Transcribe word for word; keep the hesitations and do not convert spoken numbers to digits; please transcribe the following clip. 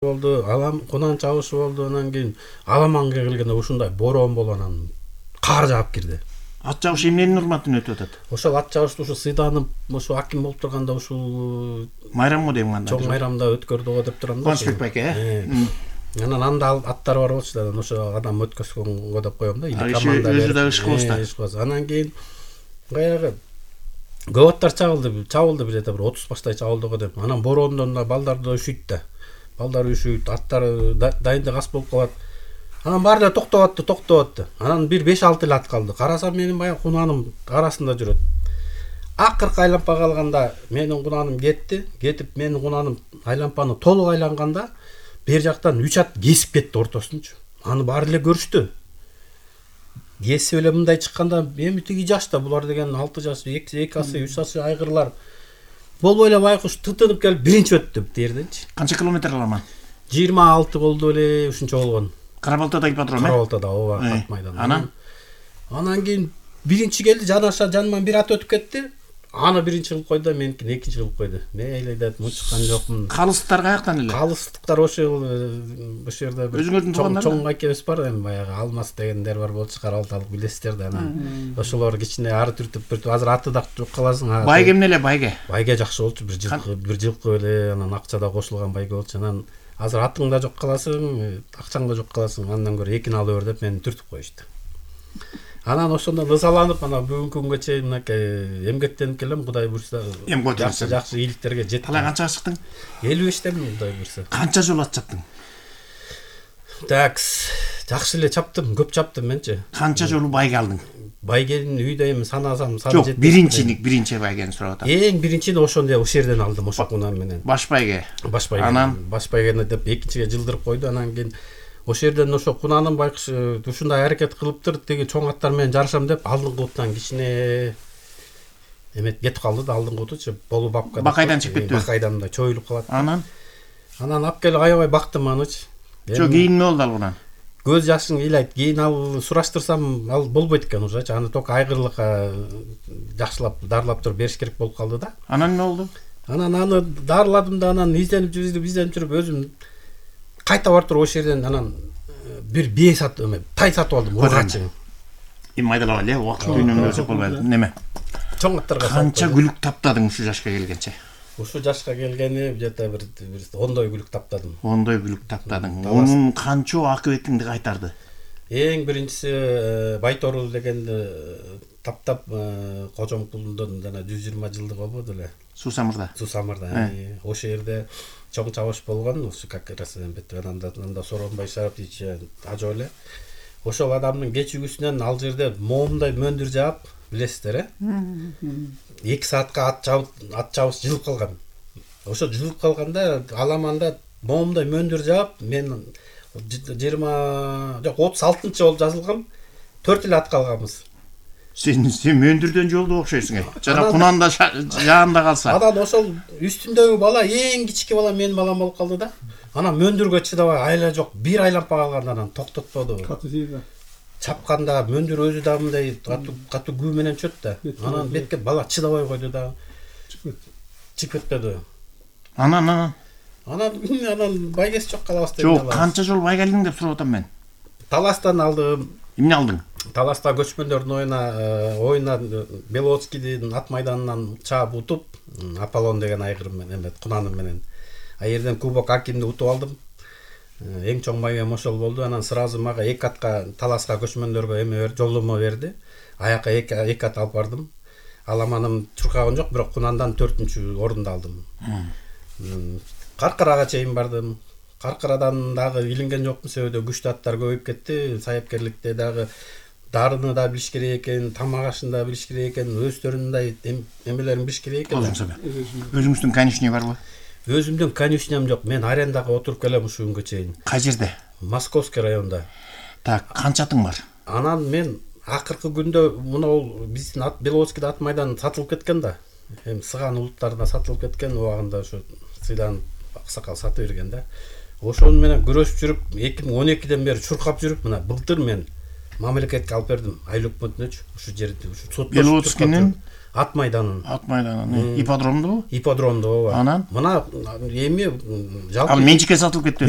болду, алам кунан чабышы болду. Анан кийин Аламанга келгенде ушундай бороон болуп анан кар жаап кирди. Ат чабыш эмненин урматына өтүп атат? Ошол ат чабышты ушу сыйданып, ошо аким болуп турганда ушул майрамго дейм анда. Чоң майрамда өткөрдү го деп турам да. Кубанычбек байке, э? Анан анда аттар бар болчу да, ошо адам өткөзгөнгө деп коем да. Или команда өзү да иш кылабыз да. Анан кийин баягы көп аттар чабылды, чабылды бир жете бир отуз баштай чабылды го деп. Анан бороондон да балдар да üşүйт да. Балдар üşүйт, аттар дайындык аз болуп калат. Анан баары да токтоп атты, токтоп атты. Анан бир беш алты эле ат калды. Карасам менин баягы кунаным арасында жүрөт. Акыркы айланпа калганда менин кунаным кетти. Кетип менин кунаным айланпаны толук айланганда бер жактан үч ат кесип кетти ортосунчу. Аны баары эле көрүштү. Кесип эле мындай чыкканда эми тиги жашта булар деген алты жаш, эки асы, үч асы айгырлар. Болбой эле байкуш тытынып келип биринчи өттү тиерденчи. Канча километр аламан? жыйырма алты болду эле, ушунча болгон. Карабалтадагы ипподром, э? Карабалтада, ооба, ат майдан. Анан анан кийин биринчи келди, жанаша жаныман бир ат өтүп кетти. Аны биринчи кылып койду, меникини экинчи кылып койду. Мейли деп мучкан жокмун. Калыстыктар каяктан эле? Калыстыктар ошол ошол жерде бир өзүңөрдүн туугандар. Чоң акебиз бар, эми баягы Алмаз дегендер бар болчу, Карабалталык билесиздер да. Анан ошолор кичине ары түртүп бир азыр аты да жок каласың. Байге эмне эле байге? Байге жакшы болчу, бир жылкы, бир жылкы эле, анан акча да кошулган байге болчу. Анан азыр атың да жок каласың, акчаң да жок каласың. Андан көрө экини алып бер деп мени түртүп коюшту. Анан ошондон ызаланып, ана бүгүнкү күнгө чейин мынакей эмгектенип келем, Кудай буйрса. Жакшы жакшы ийгиликтерге жеттим. Талай канчага чыктың? элүү бештемин, Кудай буйрса. Канча жолу ат чаптың? Так, жакшы эле чаптым, көп чаптым менчи. Канча жолу байге алдың? Байгенин үйдө эми санасам саны жок, биринчини, биринчи байгени сурап атам. Эң биринчини ошондо ошол жерден алдым, ошо кунам менен. Баш байге. Баш байге. Анан баш байгени деп экинчиге жылдырып койду, анан кийин ошол жерден ошо кунаным байкуш ушундай аракет кылыптыр, тиги чоң аттар менен жарышам деп алдыңкы утан кичине эмет кетип калды да, алдыңкы утучу болу бапка. Бакайдан чыгып кетти. Бакайдан да чоюлуп калат. Анан анан алып келип аябай бактым анычы. Жок, кийин эмне болду алгынан? Көз жашың ыйлайт. Кийин ал сураштырсам ал болбойт экен ужачы. Аны ток айгырлыкка жакшылап дарылап туруп бериш керек болуп калды да. Анан эмне болду? Анан аны дарыладым да, анан изденип жүрүп, изденип жүрүп өзүм кайта барып туруп ошол жерден анан бир бие сатып, эме, тай сатып алдым, ургачы. Эми майдалап эле, убакыт үйнөн өзү болбойт. Неме? Чоң аттарга канча күлүк таптадың ушу жашка келгенче? Ушу жашка келгени жета бир ондой күлүк таптадым. Ондой күлүк таптадың. Онун канчо акыбетиңди кайтарды? Эң биринчиси Байторул дегенди таптап, Кожомкулдун жана жүз жыйырма жылдык болбоду эле. Суусамырда. Суусамырда. Ошол жерде чоң чабыш болгон, ошо как раз эмбет анда анда Соронбай Шарапович ажоо эле. Ошол адамдын кечүүсүнөн ал жерде моомдой мөндүр жаап, билесиздер, э? эки саатка ат чабып, ат чабыш жылып калган. Ошо жылып калганда Аламанда моомдой мөндүр жаап, мен жыйырма жок отуз алтынчы болуп жазылгам, төрт эле ат калганбыз. Сен сен мөндүрдөн жолду окшойсуң, э? Жана кунанда жаанда калса. Анан ошол үстүндөгү бала эң кичики бала менин балам болуп калды да. Анан мөндүргө чыдабай айла жок, бир айланпа калганда анан токтотподу. Чапканда мөндүр өзү да мындай катуу катуу күү менен чөт да. Анан бетке бала чыдабай койду да. Чыгып кетти. Анан анан анан анан байгеси жок калабыз деп. Жок, канча жолу байге алдың деп сурап атам мен. Таластан алдым. Эмне алдың? Таласта көчмөндөрдүн оюна оюна Белоцкийдин ат майданынан чаап утуп, Аполлон деген айгырым менен, эмет кунаным менен. А жерден Кубок Акимди утуп алдым. Эң чоң байгем ошол болду. Анан сразу мага эки атка Таласка көчмөндөргө эме берди, жолдомо берди. Аяка эки эки ат алып бардым. Аламаным чуркаган жок, бирок кунандан төртүнчү орунду алдым. Каркарага чейин бардым. Каркарадан дагы илинген жокмун, себеби күчтүү аттар көбөйүп кетти. Саяпкерликте дагы дарыны да билиш керек экен, тамак ашын да билиш керек экен, өздөрүндай эмелерин билиш керек экен. Өзүңүздүн конюшня барбы? Өзүмдүн конюшням жок. Мен арендага отуруп келем ушу күнгө чейин. Кай жерде? Московский районда. Так, канча атың бар? Анан мен акыркы күндө мына биздин ат Белоцкийде ат майдан сатылып кеткен да. Эми сыган улуттарына сатылып кеткен, убагында ошо сыйдан аксакал сатып берген да. Ошону менен күрөшүп жүрүп, эки миң он экиден бери чуркап жүрүп, мына былтыр мен мамлекетке алып бердим, айыл өкмөтүнөчү ушу жерди, ушу сот. Беловодскийдин ат майданын. Ат майданын ипподромдобу? Ипподромдо ооба. Анан мына эми жалпы ал менчикке сатылып кетти беле?